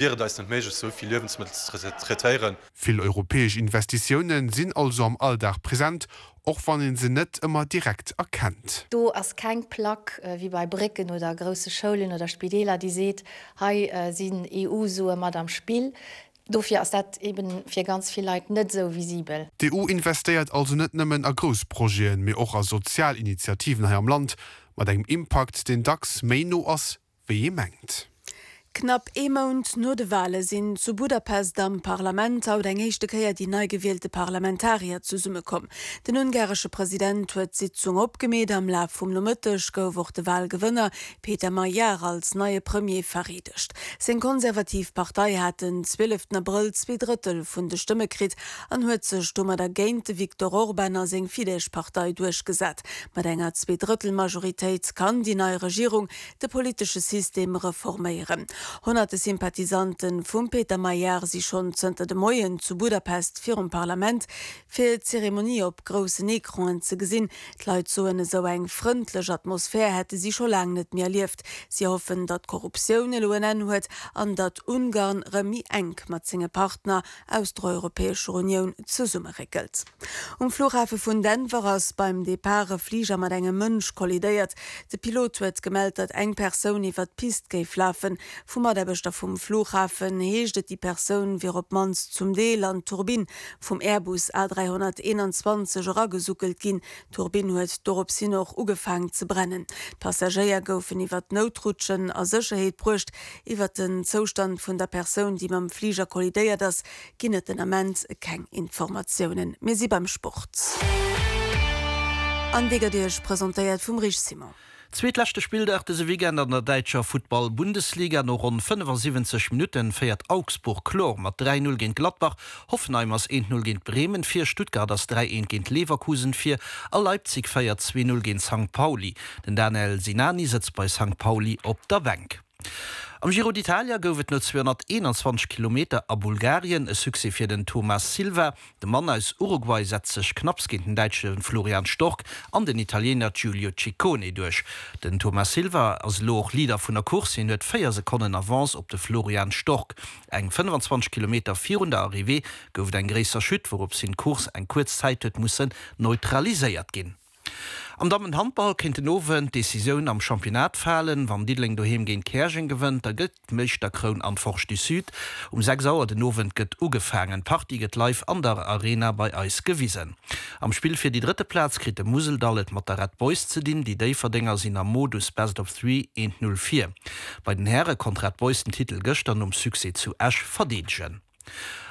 Wier et eis net méiglech, esou vill Liewensmëttel ze traitéieren? Vill europäesch Investitioune sinn also am Alldag present, och wann ee se net ëmmer direkt erkennt. Do ass keng Plack wéi bei Brécken oder grousse Schoulen oder Spideeler, déi seet, hei sinn EU-Sue mat am Spill. Dofir ass dat eben fir ganz vill Leit net esou visibel. D'EU investéiert also net nëmmen a grouss Projeten, mee och a sozial Initiativen hei am Land, mat engem Impakt, deen dacks méi no ass, wéi ee mengt. Knapp ee Mount no de Wale sinn zu Budapest am Parlament haut eng éischte Kéier déi nei gewielte Parlamentarier zesummekomm. Den ungaresche President huet d'Sitzung opgemeet. Am Laf vum Nomëtteg gouf och de Walgewënner Péter Magyar als neie Premier vereedegt. Seng konservativ Partei hat den 12 Abrëll zweedrëttel vun de Stëmme kritt an huet sech domadder géint de Viktor Orban a seng Fidesz-Partei duerchgesat. Mat enger Zweedrëttelmajoritéit kann déi nei Regierung de politesche System reforméieren. Honnerte Sympathisante vum Péter Magyar si schonn zënter de Moien zu Budapest virum Parlament, fir d'Zeremonie op groussen Ecranen ze gesinn. D'Leit soen, esou eng frëndlech Atmosphär hätte si scho laang net méi erlieft. Si hoffen, datt d'Korruptioun elo en Enn huet an datt Ungarn rëm méi enk mat senge Partner aus der Europäescher Unioun zesummeréckelt. Um Flughafe vun Denver ass beim Depart e Fliger mat engem Mënsch kollidéiert. De Pilot huet gemellt, datt eng Persoun iwwer d'Pist géif lafen. Vu Mataarbechter vum Flughafen heescht et, déi Persoun wier op d'mannst zum Deel an d'Turbinn vum Airbus A321 eragesuckelt ginn. D'Turbinn huet dorops hin och ugefaang ze brennen. D'Passagéier goufen iwwer d'Noutrutschen a Sécherheet bruecht. Iwwer den Zoustand vun der Persoun, déi mam Fliger kollidéiert ass, ginn et den Ament keng Informatiounen. Mir si beim Sport an dee gëtt Iech presentéiert vum Rich Simon. Zweetleschte Spilldag dëse Weekend an der däitscher Futtball-Bundesliga. No ronn 75 Minutten féiert Augsburg kloer mat 3, 0 géint Gladbach. Hoffenheim ass 1, 0 géint Bremen vir, Stuttgart ass 3, 1 géint Leverkusen vir a Leipzig féiert 2, 0 géint Sankt Pauli. Den Danel Sinani sëtzt bei Sankt Pauli op der Bänk. Am Giro d'Italia gouf et no 221 Kilometer a Bulgarien e Succès fir den Thomas Silva. De Mann aus Uruguay setzt sech knapps géint den Däitsche Florian Stork an den Italiener Giulio Ciccone duerch. Den Thomas Silva ass elo och Leader vun der Course, hien huet 4 Sekonnen Avance op de Florian Stork. Eng 25 Kilometer virun der Arrivée gouf et eng gréisser Chute, wourops hin d'Course eng kuerz Zäit huet mussen neutraliséiert ginn. Am Dammenhandball kéint den Owend d'Decisioun am Championnat falen. Wann Diddeleng doheem géint Käerjeng gewënnt, da gëtt d'Meeschterkroun an d'Forge du Sud. Um 6 Auer den Owend gëtt ugefaangen. D'Partie gëtt live an der Arena bei eis gewisen. Am Spill fir déi drëtte Plaz kritt de Museldall et mat der Red Boys ze dinn. Déi Déifferdenger sinn am Modus Best of Three 1, 0 vir. Bei den Häre konnt Red Boys den Titel gëschter nom Succès zu Esch verdeedegen.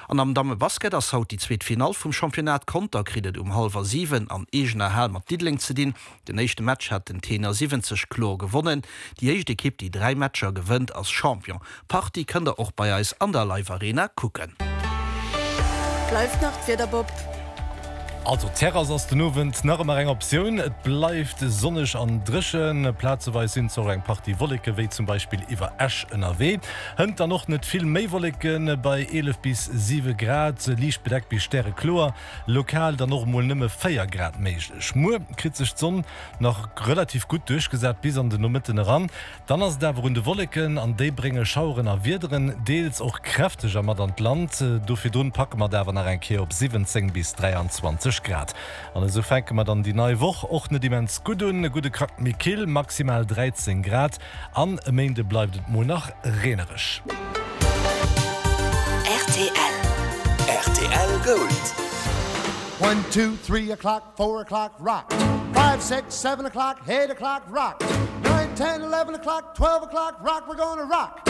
An am Dammebasket ass haut déi zweet Finall vum Championnat. Conter kritt et um hallwer 7 an eegener Hal mat Diddeleng ze dinn. Den éischte Match hat den Tenor 70 kloer gewonnen. Déi éischt Ekipp, déi 3 Matcher gewënnt, ass Champion. D'Partie kënnt der och bei eis an der Live Arena kucken. Bleift nach d'Wieder, Bob? Also d'Terrass ass den Owend nach ëmmer eng Optioun. Et bleift sonneg an dréchen, plazeweis sinn zwar och eng Partie Wolleke wéi zum Beispill iwwer Esch ënnerwee. Hënt dann och net vill méi Wolleke bei 11 bis 7 Grad, liicht bedeckt bis stärekloer, lokal dann och emol nëmme 4 Grad méiglech. Muer kritt sech d'Sonn nach relativ gutt duerchgesat bis an de Nomëtten eran. Dann ass et awer un de Wolleken, an déi brénge Schaueren a Wiederen, deels och kräfteger mat an d'Land. Do virdrun packe mer et awer nach eng Kéier op 17 bis 23 Grad. An esou fänke mer dann déi nei Woch och net immens gutt un, e gudde Krack méi kill, maximal 13 Grad, an e Méinde bleift et mol nach reenereg. Rtl. Rtl Gold. One, two, three o'clock, four o'clock, rock. Five, six, seven o'clock, eight o'clock, rock. Nine, ten, eleven o'clock, twelve o'clock, rock. We're gonna rock.